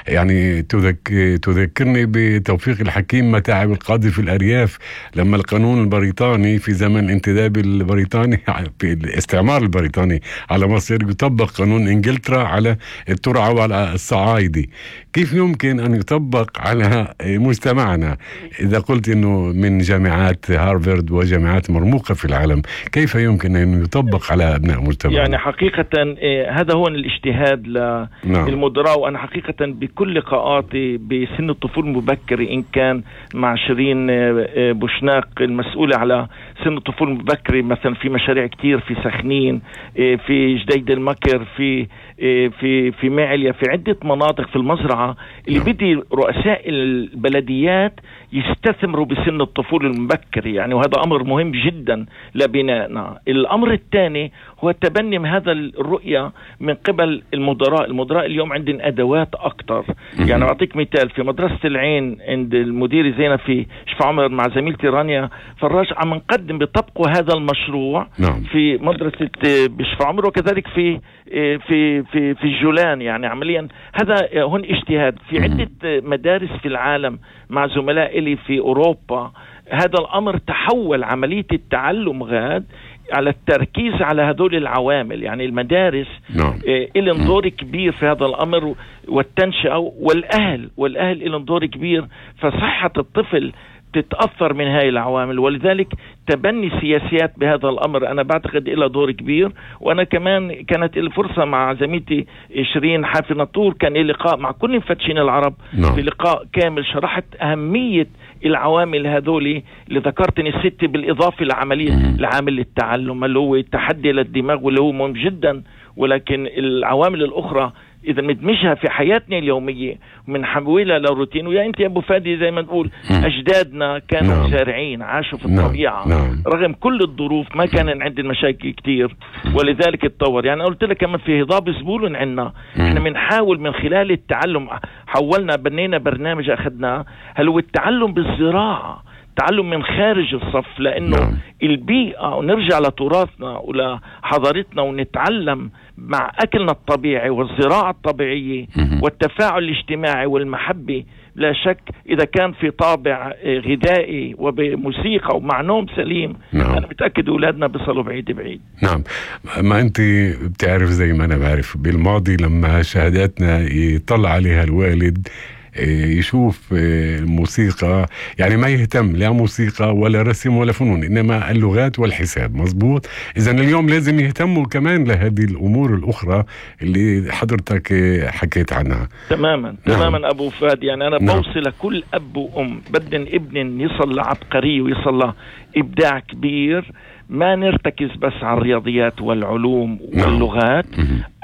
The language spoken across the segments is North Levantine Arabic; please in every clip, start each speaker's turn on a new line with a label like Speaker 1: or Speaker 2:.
Speaker 1: يعني تذكرني بتوفيق الحكيم متاعب القاضي في الأرياف لما القانون البريطاني في زمن الانتداب البريطاني في الاستعمار البريطاني على مصر يطبق قانون إنجلترا على الترعة وعلى الصعايدة. كيف يمكن أن يطبق على مجتمعنا؟ إذا قلت أنه من جامعات هارفارد وجامعات مرموقة في العالم، كيف يمكن أن يطبق على أبناء مجتمعنا؟
Speaker 2: يعني حقيقة هذا هو الاجتهاد للمدراء. وأنا حقيقة بكل لقاءاتي بسن الطفولة المبكرة، إن كان مع شيرين بوشناق المسؤولة على سن الطفولة المبكرة مثلا في مشاريع كتير في سخنين، في جديد المكر، في معليا، في عدة مناطق في المزرعة اللي بدي رؤساء البلديات يستثمروا بسن الطفولة المبكرة يعني، وهذا أمر مهم جدا لبنائنا. الأمر الثاني هو تبني هذا الرؤية من قبل المدراء اليوم عندنا أدوات أكتر. يعني أعطيك مثال، في مدرسة العين عند المدير زينب في شفا عمر مع زميلتي رانيا فراج عم نقدم بطبقوا هذا المشروع في مدرسة بشفا عمر، وكذلك في الجولان. يعني عمليا هذا هون اجتهاد في عدة مدارس في العالم مع زملاء لي في أوروبا. هذا الأمر تحول عملية التعلم غاد على التركيز على هذول العوامل. يعني المدارس إلهم دور كبير في هذا الأمر، والتنشئة والأهل إلهم دور كبير، فصحة الطفل تتأثر من هاي العوامل. ولذلك تبني سياسيات بهذا الأمر أنا بعتقد إلى دور كبير. وأنا كمان كانت الفرصة مع زميلتي شيرين حافي نطور، كان لي لقاء مع كل مفتشين العرب في لقاء كامل شرحت أهمية العوامل هذولي اللي ذكرتني الست، بالإضافة لعامل التعلم اللي هو التحدي للدماغ واللي هو مهم جدا. ولكن العوامل الأخرى إذا ندمجها في حياتنا اليومية ومنحولها لروتين. ويا أنت يا أبو فادي زي ما نقول أجدادنا كانوا زارعين، عاشوا في الطبيعة رغم كل الظروف، ما كان عندنا مشاكل كتير ولذلك اتطور. يعني قلت لك كمان في هضاب زبولن عنا احنا بنحاول من خلال التعلم، بنينا برنامج أخذناه هل هو التعلم بالزراعة، تعلم من خارج الصف، لأنه البيئة ونرجع لتراثنا ولحضارتنا ونتعلم مع أكلنا الطبيعي والزراعة الطبيعية والتفاعل الاجتماعي والمحبة. لا شك إذا كان في طابع غذائي وبموسيقى ومع نوم سليم أنا متأكد أولادنا بيصلوا بعيد.
Speaker 1: نعم، ما أنت بتعرف زي ما أنا بعرف بالماضي لما شهاداتنا يطلع عليها الوالد يشوف الموسيقى، يعني ما يهتم لا موسيقى ولا رسم ولا فنون، إنما اللغات والحساب. مظبوط. إذن اليوم لازم يهتموا كمان لهذه الأمور الأخرى اللي حضرتك حكيت عنها.
Speaker 2: تماما أبو فادي. يعني أنا بوصل لكل أب وأم بدن ابن يصل لعبقري ويصل لإبداع كبير، ما نرتكز بس على الرياضيات والعلوم واللغات.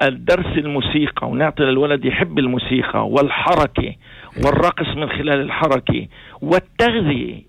Speaker 2: الدرس الموسيقى ونعطي للولد يحب الموسيقى والحركة والرقص من خلال الحركة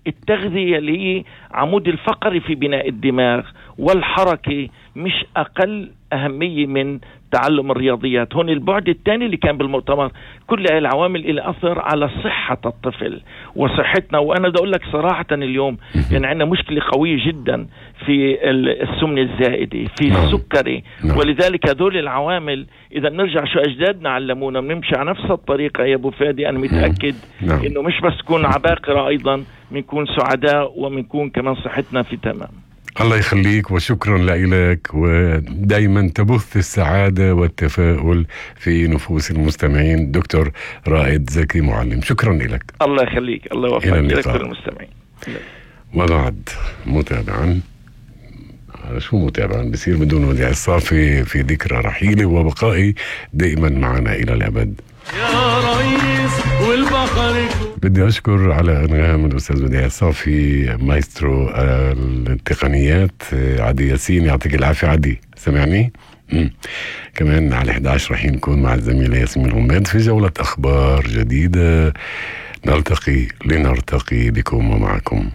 Speaker 2: التغذية اللي هي عمود الفقري في بناء الدماغ، والحركة مش أقل أهمية من تعلم الرياضيات. هون البعد الثاني اللي كان بالمؤتمر، كل هاي العوامل اللي أثر على صحة الطفل وصحتنا. وأنا بدي أقول لك صراحة اليوم يعني عندنا مشكلة قوية جدا في السمنة الزائدة، في السكري. ولذلك هذول العوامل إذا نرجع شو أجدادنا علمونا بنمشي على نفس الطريقة يا أبو فادي. أنا متأكد إنه مش بس تكون عباقرة، أيضا بنكون سعداء وبنكون كمان صحتنا في تمام.
Speaker 1: الله يخليك وشكرا لك، ودايما تبث السعادة والتفاؤل في نفوس المستمعين. دكتور رائد زكي معلم، شكرا لك.
Speaker 2: الله يخليك، الله يوفقك دكتور المستمعين.
Speaker 1: وبعد متابعا بصير بدون وديع الصافي في ذكرى رحيلي وبقائي دائما معنا إلى الأبد. يا رئيس والبحر. بدي أشكر على أنغام الأستاذ وديع الصافي مايسترو التقنيات عدي ياسين، يعطيك العافية عدي، سمعني؟ كمان على 11 رح نكون مع الزميلة ياسمين الغماد في جولة أخبار جديدة. نلتقي لنرتقي بكم ومعكم.